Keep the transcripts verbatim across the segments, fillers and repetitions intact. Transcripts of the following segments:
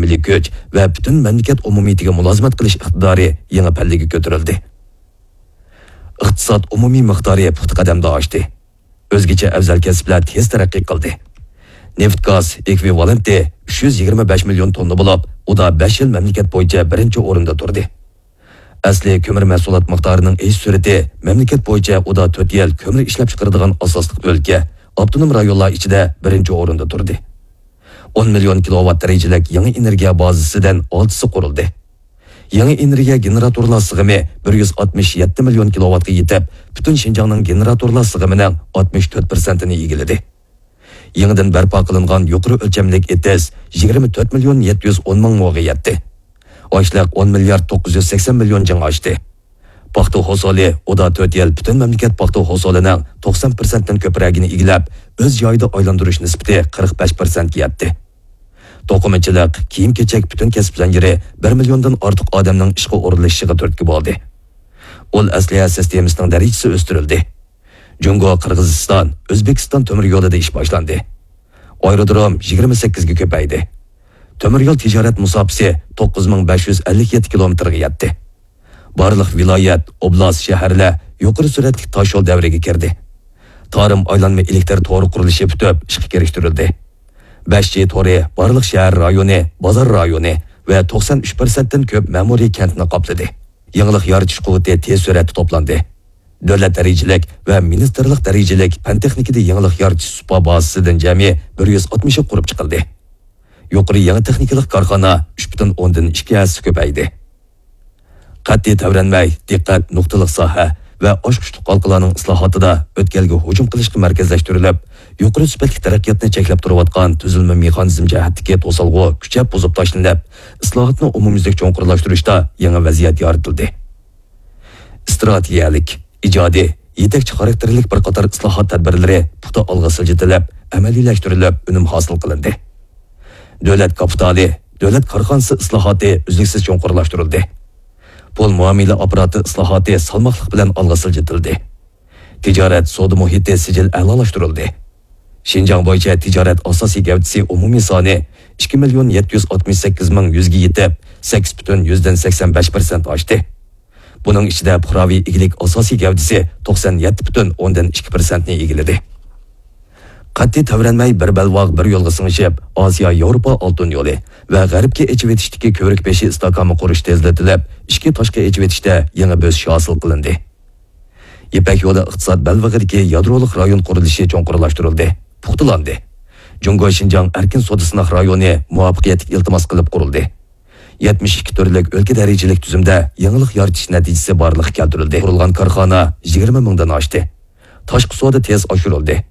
مىللىي كۈچ ۋە پۈتۈن مەملىكەت ئومۇمىيىتىگە مۇلازىمەت قىلىش ئىقتىدارى يېڭى پەللىگە كۆتۈرۈلدى. ئىقتىساد ئومۇمىي مىقدارى پۇختا قەدەمدە ئاشتى. ئۆزگىچە ئەۋزەل كەسىپلەر تېز تەرەققىي قىلدى. نېفىت گاز ئېكۋىۋالېنتى ئۈچ يۈز يىگىرمە بەش مىليون توننا بولۇپ، ئۇدا بەش يىل مەملىكەت بويىچە بىرىنچى ئورۇندا تۇردى. ئەسلى كۆمۈر مەھسۇلات مىقدارىنىڭ ئېشىش سۈرئىتى مەملىكەت بويىچە ئۇدا تۆت يىل كۆمۈر ئىشلەپچىقىرىدىغان ئاساسلىق ئۆلكە، ئاپتونوم رايونلار ئىچىدە بىرىنچى ئورۇندا تۇردى. ئون مىليون كىلوۋات دەرىجىلىك يېڭى ئېنېرگىيە بازىسىدىن ئالتىسى قۇرۇلدى. يېڭى ئېنېرگىيە گېنېراتورلار سىغىمى بىر يۈز ئاتمىش يەتتە مىليون كىلوۋاتقا يېتىپ، پۈتۈن شىنجاڭنىڭ گېنېراتورلار سىغىمىنىڭ ئاتمىش تۆت پىرسەنتىنى ئىگىلىدى. يېڭىدىن بەرپا قىلىنغان يۇقىرى ئۆلچەملىك ئېتىز يىگىرمە تۆت مىليون يەتتە يۈز ئون مىڭ موغا يەتتى. ئاشلىق ئون مىليارد توققۇز يۈز سەكسەن مىليون جىڭ ئاشتى. پاختا ھوسۇلى ئۇدا تۆت يىل پۈتۈن مەملىكەت پاختا ھوسۇلىنىڭ توقسان پىرسەنتتىن كۆپرەكىنى ئىگىلەپ، ئۆز جايىدا ئايلاندۇرۇش نىسبىتى قىرىق بەش پىرسەنتكە يەتتى. توقۇمىچىلىق، كىيىم-كېچەك پۈتۈن كەسىپ زەنجىرى بىر مىليوندىن ئارتۇق ئادەمنىڭ ئىشقا ئورۇنلىشىشىغا تۈرتكە بولدى. ئۇل ئەسلىھە سىستېمىسىنىڭ دەرىجىسى ئۆستۈرۈلدى. جۇڭگو، قىرغىزىستان، ئۆزبېكىستان تۆمۈر يولىدا ئىش باشلاندى. ئايرودروم يىگىرمە سەككىزگە كۆپەيدى. تۆمۈر يول تىجارەت مۇساپىسى توققۇز مىڭ بەش يۈز ئەللىك يەتتە كىلومېتىرغا يەتتى. بارلىق ۋىلايەت، ئوبلاست، شەھەرلەر يۇقىرى سۈرئەتلىك تاش يول دەۋرىگە كىردى. تارىم ئايلانما ئېلېكتىر تورى قۇرۇلۇشى پۈتۈپ، ئىشقا كىرىشتۈرۈلدى. بەش جى تورى بارلىق شەھەر رايونى، بازار رايونى ۋە توقسان ئۈچ پىرسەنتتىن كۆپ مەمۇرىي كەنتنى قاپلىدى. يېڭىلىق يارىتىش قۇۋۋىتى تېز سۈرئەتتە توپلاندى. دۆلەت دەرىجىلىك ۋە مىنىستىرلىق دەرىجىلىك پەن-تېخنىكىدا يېڭىلىق يارىتىش سۇپا بازىسىدىن جەمئىي بىر يۈز ئاتمىشى قۇرۇپ چىقىلدى. يۇقىرى يېڭى تېخنىكىلىق كارخانا ئۈچ پۈتۈن ئوندىن ئىككى ھەسسە كۆپەيدى. قەتئىي تەۋرەنمەي، دىققەت نۇقتىلىق ساھە ۋە ئاچقۇچلۇق ھالقىلارنىڭ ئىسلاھاتىدا ئۆتكەلگە ھۇجۇم قىلىشقا مەركەزلەشتۈرۈلۈپ، يۇقىرى سۈپەتلىك تەرەققىياتنى چەكلەپ تۇرۇۋاتقان تۈزۈلمە مېخانىزم جەھەتتىكى توسالغۇ كۈچەپ بۇزۇپ تاشلىنىپ، ئىسلاھاتنى ئومۇميۈزلۈك چوڭقۇرلاشتۇرۇشتا يېڭى ۋەزىيەت يارىتىلدى. ئىستراتېگىيەلىك، ئىجادىي، يېتەكچى خاراكتېرلىك بىر قاتار ئىسلاھات تەدبىرلىرى پۇختا ئالغا سىلجىتىلىپ، ئەمەلىيلەشتۈرۈلۈپ، ئۈنۈم ھاسىل قىلىندى. دۆلەت كاپىتالى، دۆلەت كارخانىسى ئىسلاھاتى ئۈزلۈكسىز چوڭقۇرلاشتۇرۇلدى. پۇل مۇئامىلە ئاپپاراتى ئىسلاھاتى سالماقلىق بىلەن ئالغا سىلجىتىلدى. تىجارەت سودا مۇھىتى سىجىل ئەلالاشتۇرۇلدى. شىنجاڭ بويىچە تىجارەت ئاساسىي گەۋدىسى ئومۇمىي سانى ئىككى مىليون يەتتە يۈز ئاتمىش سەككىز مىڭ يۈزگە يېتىپ، سەككىز پۈتۈن يۈزدىن سەكسەن بەش پىرسەنت ئاشتى. بۇنىڭ ئىچىدە پۇقراۋى ئىگىلىك ئاساسىي گەۋدىسى توقسان يەتتە پۈتۈن ئوندىن ئىككى پىرسەنتنى ئىگىلىدى. قەتئىي تەۋرەنمەي بىر بەلباغ بىر يولغا سىڭىشىپ، ئاسىيا ياۋروپا ئالتۇن يولى ۋە غەربكە ئېچىۋېتىشتىكى كۆۋرۈك بېشى ئىستاھكامى قۇرۇش تېزلىتىلىپ، ئىچكى تاشقى ئېچىۋېتىشتە يېڭى بۆسۈش ھاسىل قىلىندى. يىپەك يولى ئىقتىساد بەلبېغىدىكى يادرولۇق رايون قۇرۇلۇشى چوڭقۇرلاشتۇرۇلدى، پۇختىلاندى. جۇڭگو شىنجاڭ ئەركىن سودا سىناق رايونى مۇۋەپپەقىيەتلىك ئىلتىماس قىلىپ قۇرۇلدى. يەتمىش ئىككى تۈرلۈك ئۆلكە دەرىجىلىك تۈزۈمدە يېڭىلىق يارىتىش نەتىجىسى بارلىققا كەلتۈرۈلدى. قۇرۇلغان كارخانا يىگىرمە مىڭدىن ئاشتى. تاشقى سودا تېز ئاشۇرۇلدى.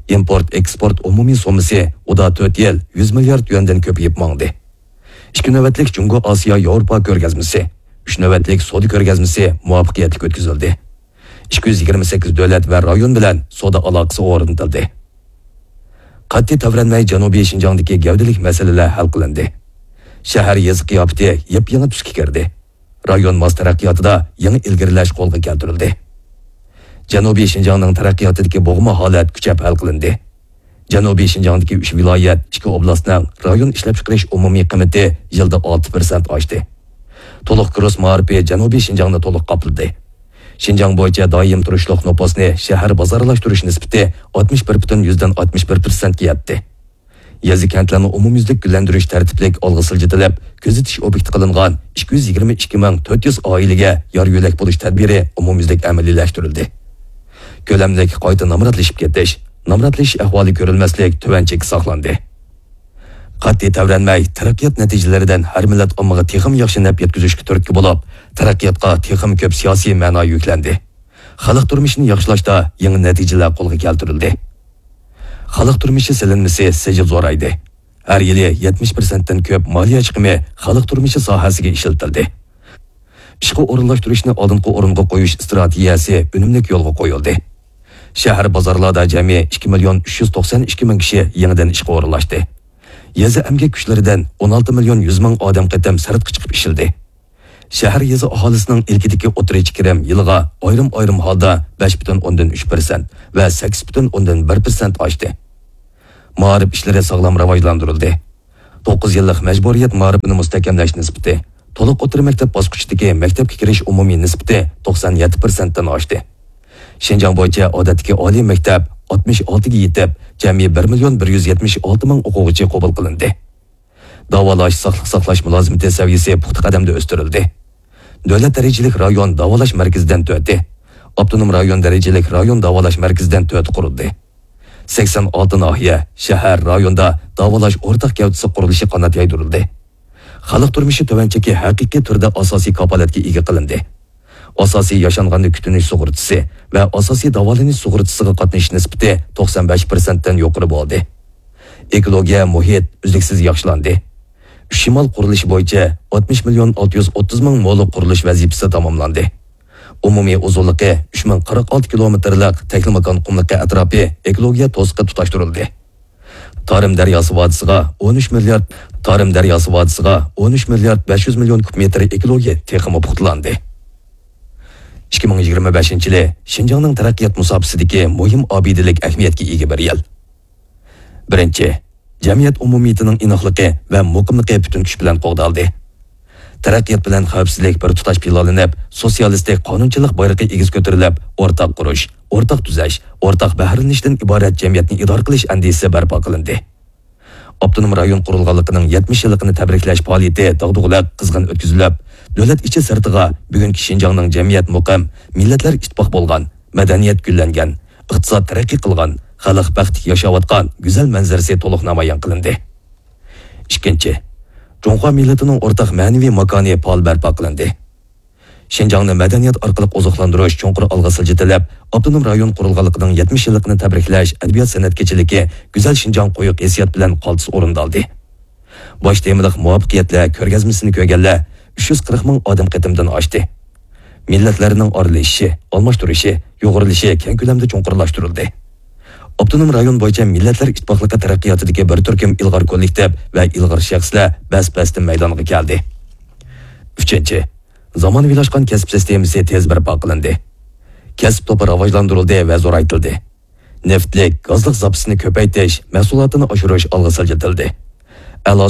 ئىمپورت ئېكسپورت ئومۇمىي سوممىسى ئۇدا تۆت يىل يۈز مىليارد يۈەندىن كۆپىيىپ ماڭدى. ئىككى نۆۋەتلىك جۇڭگو ئاسىيا ياۋروپا كۆرگەزمىسى، ئۈچ نۆۋەتلىك سودا كۆرگەزمىسى مۇۋەپپەقىيەتلىك ئۆتكۈزۈلدى. ئىككى يۈز يىگىرمە سەككىز دۆلەت ۋە رايون بىلەن سودا ئالاقىسى ئورنىتىلدى. قەتئىي تەۋرەنمەي جەنۇبىي شىنجاڭدىكى گەۋدىلىك مەسىلىلەر ھەل قىلىندى. شەھەر يېزا قىياپىتى يېپيېڭى تۈسكە كىردى. رايون ماس تەرەققىياتىدا يېڭى ئىلگىرىلەش قولغا كەلتۈرۈلدى. جەنۇبىي شىنجاڭنىڭ تەرەققىياتىدىكى بوغما ھالەت كۈچەپ ھەل قىلىندى. جەنۇبىي شىنجاڭدىكى ئۈچ ۋىلايەت، ئىككى ئوبلاستنىڭ رايون ئىشلەپچىقىرىش ئومۇمىي قىممىتى يىلدا ئالتە پىرسەنت ئاشتى. تولۇق كۇرس مائارىپى جەنۇبىي شىنجاڭنى تولۇق قاپلىدى. شىنجاڭ بويىچە دائىم تۇرۇشلۇق نوپۇسنى شەھەر بازارلاشتۇرۇش نىسبىتى ئاتمىش بىر پۈتۈن يۈزدىن ئاتمىش بىر پىرسەنتكە يەتتى. يېزا-كەنتلەرنى ئومۇميۈزلۈك گۈللەندۈرۈش تەرتىپلىك ئالغا سىلجىتىلىپ، كۆزىتىش ئوبيېكتى قىلىنغان ئىككى يۈز يىگىرمە ئىككى مىڭ تۆت يۈز ئائىلىگە يار-يۆلەك بولۇش تەدبىرى ئومۇميۈزلۈك ئەمەلىيلەشتۈرۈلدى. كۆلەملىك قايتا نامراتلىشىپ كېتىش، نامراتلىشىش ئەھۋالى كۆرۈلمەسلىك تۆۋەن چەككە ساقلاندى. قەتئىي تەۋرەنمەي، تەرەققىيات نەتىجىلىرىدىن ھەر مىللەت ئاممىغا تېخىمۇ ياخشى نەپ يەتكۈزۈشكە تۈرتكە بولۇپ، تەرەققىياتقا تېخىمۇ كۆپ سىياسىي مەنا يۈكلەندى. خەلق تۇرمۇشىنى ياخشىلاشتا يېڭى نەتىجىلەر قولغا كەلتۈرۈلدى. خەلق تۇرمۇشى سېلىنمىسى سىجىل زورايدى. ھەر يىلى يەتمىش پىرسەنتتىن كۆپ مالىيە چىقىمى خەلق تۇرمۇشى ساھەسىگە ئىشلىتىلدى. ئىشقا ئورۇنلاشتۇرۇشنى ئالدىنقى ئورۇنغا قويۇش ئىستراتېگىيەسى ئۈنۈملۈك يولغا قويۇلدى. شەھەر بازارلاردا جەمئىي ئىككى مىليون ئۈچ يۈز توقسان ئىككى مىڭ كىشى يېڭىدىن ئىشقا ئورۇنلاشتى. يېزا ئەمگەك كۈچلىرىدىن ئون ئالتە مىليون يۈز مىڭ ئادەم قېتىم سىرتقا چىقىپ ئىشلىدى. شەھەر يېزا ئاھالىسىنىڭ ئىلكىدىكى ئوتتۇرىچە كىرىم يىلىغا ئايرىم-ئايرىم ھالدا بەش پۈتۈن ئوندىن ئۈچ پىرسەنت ۋە سەككىز پۈتۈن ئوندىن بىر پىرسەنت ئاشتى. مائارىپ ئىشلىرى ساغلام راۋاجلاندۇرۇلدى. توققۇز يىللىق مەجبۇرىيەت مائارىپىنى مۇستەھكەملەش نىسبىتى، تولۇق ئوتتۇرا مەكتەپ باسقۇچىدىكى مەكتەپكە كىرىش ئومۇمىي نىسبىتى توقسان يەتتە پىرسەنتتىن ئاشتى. شىنجاڭ بويىچە ئادەتتىكى ئالىي مەكتەپ ئاتمىش ئالتىگە يېتىپ، جەمئىي بىر مىليون بىر يۈز يەتمىش ئالتە مىڭ ئوقۇغۇچى قوبۇل قىلىندى. داۋالاش، ساقلىق ساقلاش مۇلازىمىتى سەۋىيەسى پۇختا قەدەمدە ئۆستۈرۈلدى. دۆلەت دەرىجىلىك رايون داۋالاش مەركىزىدىن تۆتى، ئاپتونوم رايون دەرىجىلىك رايون داۋالاش مەركىزىدىن تۆتى قۇرۇلدى. سەكسەن ئالتە ناھىيە، شەھەر، رايوندا داۋالاش ئورتاق گەۋدىسى قۇرۇلۇشى قانات يايدۇرۇلدى. خەلق تۇرمۇشى تۆۋەن چېكى ھەقىقىي تۈردە ئاساسىي كاپالەتكە ئىگە قىلىندى. ئاساسىي ياشانغاننى كۈتۈنۈش سۇغۇرتىسى ۋە ئاساسىي داۋالىنىش سۇغۇرتىسىغا قاتنىشىش نىسبىتى توقسان بەش پىرسەنتتىن يۇقىرى بولدى. ئېكولوگىيە، مۇھىت ئۈزلۈكسىز ياخشىلاندى. ئۈچ شىمال قۇرۇلۇشى بويىچە ئاتمىش مىليون ئالتە يۈز ئوتتۇز مىڭ مولۇق قۇرۇلۇش ۋەزىپىسى تاماملاندى. ئومۇمىي ئۇزۇنلۇقى ئۈچ مىڭ قىرىق ئالتە كىلومېتىرلىق تەكلىماكان قۇملۇقى ئەتراپى ئېكولوگىيە توسۇقى تۇتاشتۇرۇلدى. تارىم دەرياسى ۋادىسىغا ئون ئۈچ مىليارد، تارىم دەرياسى ۋادىسىغا ئون ئۈچ مىليارد بەش يۈز مىليون كۇب مېتىر ئېكولوگىيە تېخىمۇ پۇختىلاندى. ئىككى مىڭ يىگىرمە بەشىنچى يىلى شىنجاڭنىڭ تەرەققىيات مۇساپىسىدىكى مۇھىم ئابىدىلىك ئەھمىيەتكە ئىگە بىر يىل. بىرىنچى، جەمئىيەت ئومۇمىيىتىنىڭ ئىناقلىقى ۋە مۇقىملىقى پۈتۈن كۈچ بىلەن قوغدالدى. تەرەققىيات بىلەن خەۋپسىزلىك بىر تۇتاش پىلانلىنىپ، سوتسىيالىستىك قانۇنچىلىق بايرىقى ئېگىز كۆتۈرۈلۈپ، ئورتاق قۇرۇش، ئورتاق تۈزەش، ئورتاق بەھرىلىنىشتىن ئىبارەت جەمئىيەتنى ئىدارە قىلىش ئەندىزىسى بەرپا قىلىندى. ئاپتونوم رايون قۇرۇلغانلىقىنىڭ يەتمىش يىللىقىنى تەبرىكلەش پائالىيىتى داغدۇغىلىق، قىزغىن ئۆتكۈزۈلۈپ، دۆلەت ئىچى سىرتىغا بۈگۈنكى شىنجاڭنىڭ جەمئىيەت مۇقىم، مىللەتلەر ئىتتىپاق بولغان، مەدەنىيەت گۈللەنگەن، ئىقتىساد تەرەققىي قىلغان، خەلق بەختلىك ياشاۋاتقان گۈزەل مەنزىرىسى تولۇق نامايان قىلىندى. ئىككىنچى، جۇڭخۇا مىللىتىنىڭ ئورتاق مەنىۋى ماكانى پائال بەرپا قىلىندى. شىنجاڭنى مەدەنىيەت ئارقىلىق ئوزۇقلاندۇرۇش چوڭقۇر ئالغا سىلجىتىلىپ، ئاپتونوم رايون قۇرۇلغانلىقىنىڭ يەتمىش يىللىقىنى تەبرىكلەش ئەدەبىيات-سەنئەت كېچىلىكى گۈزەل شىنجاڭ قويۇق ھېسسىيات بىلەن قالتىس ئورۇندالدى. باش تېمىلىق مۇۋەپپەقىيەتلەر كۆرگەزمىسىنى كۆرگەنلەر ئۈچ يۈز قىرىق مىڭ ئادەم قېتىمدىن ئاشتى. مىللەتلەرنىڭ ئارىلىشىشى، ئالماشتۇرۇشى، يۇغۇرۇلۇشى كەڭ كۆلەمدە چوڭقۇرلاشتۇرۇلدى. ئاپتونوم رايون بويىچە مىللەتلەر ئىتتىپاقلىقى تەرەققىياتىدىكى بىر تۈركۈم ئىلغار كوللېكتىپ ۋە ئىلغار شەخسلەر بەس-بەستە مەيدانغا كەلدى. ئۈچىنچى، زامانىۋىلاشقان كەسىپ سىستېمىسى تېز بەرپا قىلىندى. كەسىپ توپى راۋاجلاندۇرۇلدى ۋە زورايتىلدى. نېفىتلىك، گازلىق زاپىسىنى كۆپەيتىش، مەھسۇلاتىنى ئاشۇرۇش ئالغا سىلجىتىلدى. ئەلا